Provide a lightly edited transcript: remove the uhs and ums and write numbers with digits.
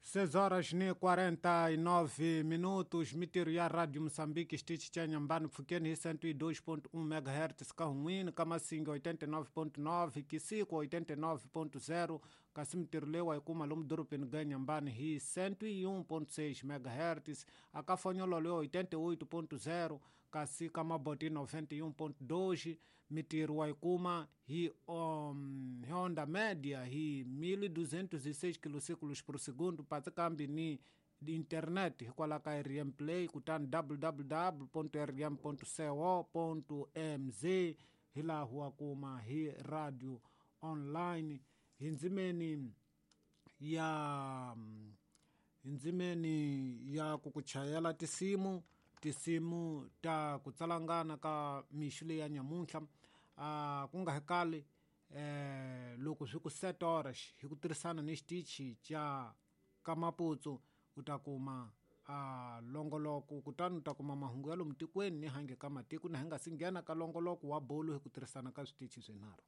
6 horas e 49 minutos, mitirho ya Rádio Moçambique, xitichi cha Nyambani, pfukeni hi 102.1 MHz, ka Hun'wini, ka Masinga 89.9, Kisiko 89.0, kasi mitirho leyi wa yi kuma lomu dorobeni ga Nyambani hi 101.6 MHz, aka Fonyololo 88.0, kasi ka Maboti 91.2, mitirho wa yi kuma hi hi onda média hi 1206 kilociclos por segundo, patsi kambi ni internet hikwalaho ka rm play, kutani www.rm.co.mz hi laha wa kuma hi radio online. Hi ndzimeni ya hi ndzimeni ya ku ku chayela tinsimu, tinsimu ta ku tsalangana ka mixo leyi ya nyamuntlha, ku nga hekali loko swi ku 7 horas hi ku tirhisana ni xitichi xa ka Maputsu, u ta kuma longoloko, kutani u ta kuma mahungu ya lomu tikweni ni hange ka matiko, na hi nga si nghena ka longoloko wa bolo hi ku tirhisana ka switichi swinharhu.